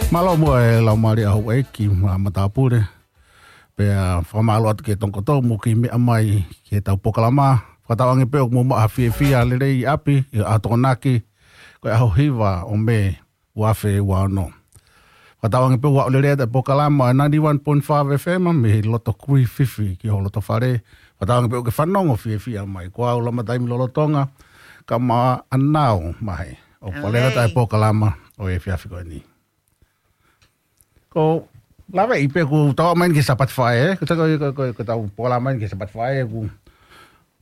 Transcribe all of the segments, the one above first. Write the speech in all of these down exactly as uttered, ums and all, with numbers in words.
Mālō muʻa e laumālie ʻa houʻeiki mo e matāpule. Pea fakamālō atu ki he tongokoto mo e kei meʻa mai ki heʻetau polokalama. Fakatauange pē ʻoku mou maʻu ha fiefia lelei ʻi ʻapi, ʻi he ʻaho Tokonaki, ko e ʻaho hiva ʻo Mē, ua afe ua ono. Fakatauange pē ʻoku aʻu lelei atu e polokalama ʻa e ninety-one point five F M mei he loto Kruififi ki ho loto fale. Fakatauange pē ʻoku ke fanongo fiefia mai. Ko au Lama Taimi lolotonga, kae ʻumaʻā ʻAnau Mahe. ʻOku faleʻi atu e polokalama ʻo e efiafi ko eni. Ko e lave ʻi pē ʻoku tau aʻu mai ki he Sāpate Faʻē, ē? Ko e, ko e, ko e, ko e tau polokalama ki he Sāpate Faʻē, ʻoku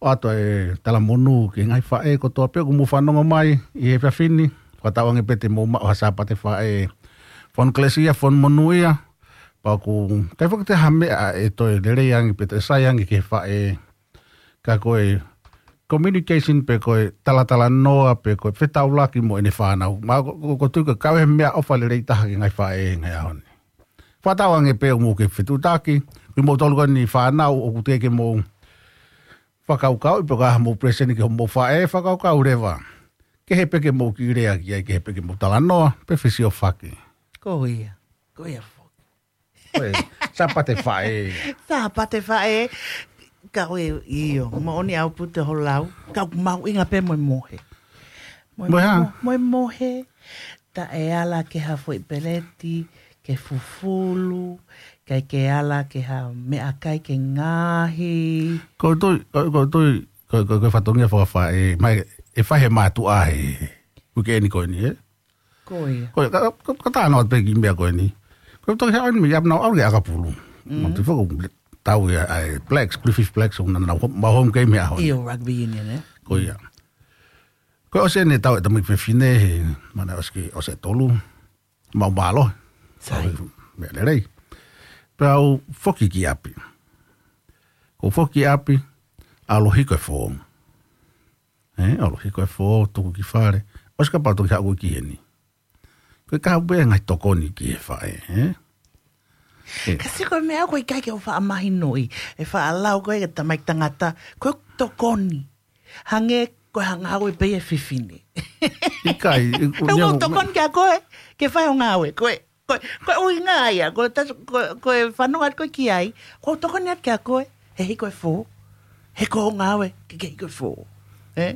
ʻoatu e talamonū ki he ngaahi faʻē kotoa pē ʻoku mou fanongo mai ʻi he efiafi ni. Fakatauange pē te mou maʻu ha Sāpate Faʻē fonu kelesi ia, fonu monū ia. Pea ʻoku ʻikai foki toe ha meʻa ʻe toe lelei ange pe toe sai ange ki he faʻē, ka ko e communication pe ko e talatalanoa pe ko e fetaulaki mo ʻene fānau. Mo au ʻoku, ʻoku, ʻoku ou tui ko e kau he meʻaʻofa lelei taha ki he ngaahi faʻē he ngaahi ʻaho ni. Fakatauange pē ʻoku mou kei fetuʻutaki, ko kimoutolu ko eni fānau ʻoku teʻeki ke mou fakakaukauʻi pe ko e hā hoʻomou present ki hoʻomou faʻē, fakakaukau leva. Kehe pē ke mou kiʻi lea ki ai, kehe pē ke mou talanoa, pe fesiofaki. Ko ia, ko ia foki. Ko e Sāpate Faʻē. Sāpate Faʻē. Ka ʻoku ʻio, moʻoni ʻaupito hoʻo lau. Ka ʻoku mahuʻinga pē mo e mohe. Mo e, mo e hā? Mo, mo e mohe. Taʻe ala ki ha foʻi peleti ke fufulu, ʻikai ke ala ki ha meʻakai ke ngaohi. Ko e tui, ko, ko e tui, ko, ko, ko e fatongia fakafaʻē, mai, ʻe fai he mātuʻa he, he uike ni ko eni, ē? Ko ia. Ko ia, ka, ka, ka talanoa pē ki he meʻa ko eni. Ko e toki haʻu eni mei ʻapi naʻa ku ʻalu ki ʻAkapulu. Mm. Mo te foko tau ia ʻa e Blacks, Griffith Blacks, ʻo naʻa nau ho-, maʻu home game he ʻaho ni. ʻIo, rugby union, ē? Ko ia. Ko e ʻosi eni e tau e tamaiki fefine he, mana ʻosi ki, ʻosi e tolu. Maʻu mālohi. Sai. Meʻa lelei. Pea u foki ki ʻapi. Ko u foki ki ʻapi, ʻalu hiko e fō. Ē, ʻalu hiko e fō, tuku ki fale. ʻOsi kapau toki haʻu ki heni. Ko e kau pē ngaahi tokoni ki he faʻē, ē? Ē. Ka sio ko e meʻa ko e ʻikai ke u faʻa mahinoʻi, ʻe faʻa lau ko e tamaiki tangata, ko e tokoni. Hangē ko e ngāue pē ia ʻa e fefine. ʻIkai, i, Pea u ʻoku ou tokoni kia koe, ke fai hoʻo ngāue, ko e, ko e, ko e ʻuhinga ia, ko e tas-, ko e, ko e fanongo atu ko ē ki ai, ʻoku ou tokoni atu kia koe, he hiko e fō, he ko hoʻo ngāue, ke, ke hiko e fō. Ē?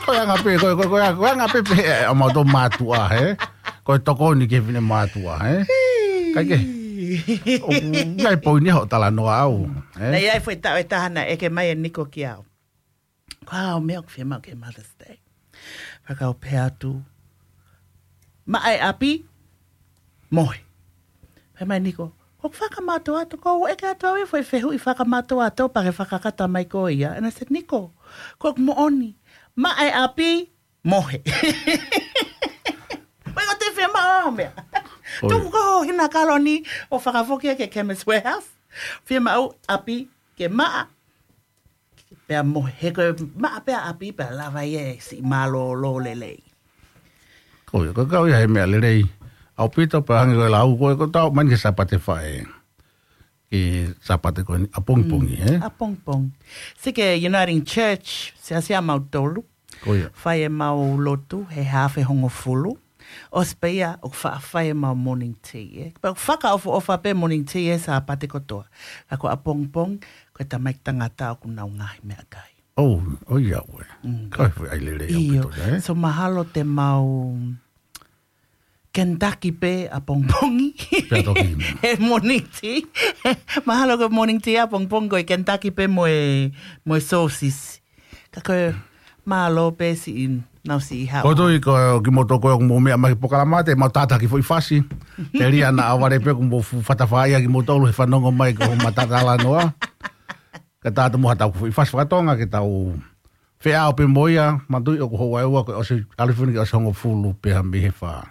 Ko e anga pē, ko e, ko e, ko e anga, ko e anga pē pē, ē, ʻa mautolu mātuʻa, ē? Ko e tokoni ki he fefine mātuʻa, ē? Hei. ʻIkai ke, ʻoku ʻi ai e poini hoʻo talanoa au, ē? Naʻe ʻi ai e foʻi taʻu ʻe taha naʻe ʻeke mai ʻe Niko kia au. Ko e hā hoʻo meʻa ʻoku fiemaʻu ki he Mother's Day? Pea u pehē atu, maʻa e ʻapi, mohe. Pehē mai ʻe Niko, ko e fakamātoato, ko u ʻeke atu au e foʻi fehuʻi fakamātoato pea ke fakakakato mai koe ia. And I said, Niko, ko ʻeku moʻoni, maʻa e ʻapi, mohe. Mai ko e toe fiemaʻu hoʻo meʻa. ʻOi. Tuku ko hoʻo hina kaloni ʻo fakafoki ia ki he Chemist Warehouse. Fiemaʻu ʻapi ke maʻa. Pea mohe, he ko e maʻa pē ʻapi pea lava ia e siʻi mālōlō lelei. Ko ia, ko e kau ia he meʻa lelei. ʻAupito pea hangē ko e lau ko ē, ko e tau mai ki he Sāpate Faʻē. Ki he Sāpate ko eni, ʻapongipongi, Mm, ē? ʻapongipongi. Sio ki he Uniting Church, siasi ʻa mautolu. Ko ia. Fai ʻemau lotu, he haafe hongofulu. ʻOsi pē ia, ʻoku faʻa fai ʻemau morning tea, ē. Pea ʻoku fakaʻofoʻofa pē morning tea ʻi he Sāpate kotoa. Ka ko ʻapongipongi, ko e tamaiki tangata ʻoku nau ngaohi meʻakai. ʻOu, ʻoiauē. Mm. Ko e foʻi ʻai lelei ʻaupito ia, ē? So mahalo te mau Kentucky pē ʻapongipongi. Pea toki. He morning tea. Mahalo ko e morning tea ʻapongipongi ko e Kentucky pē mo e, mo e sōsisi. Ka ko e mālō pē siʻi nau siʻi haʻu. Ko e tui ko kimoutolu ko ē ʻoku mou meʻa mai ki he polokalama te mau tātaki foʻi fasi. Telia naʻa vale pē ʻoku mou fu-, fatafaʻia kimoutolu he fanongo mai ki hoʻomou talanoa. Ka tātā mo ha tau foʻi fasi fakatonga ke tau feʻao pē mo ia, manatuʻi ʻoku houʻeiki ua ko e ʻosi, ʻalu hifo eni ki he ʻosi hongofulu pea mei he fā.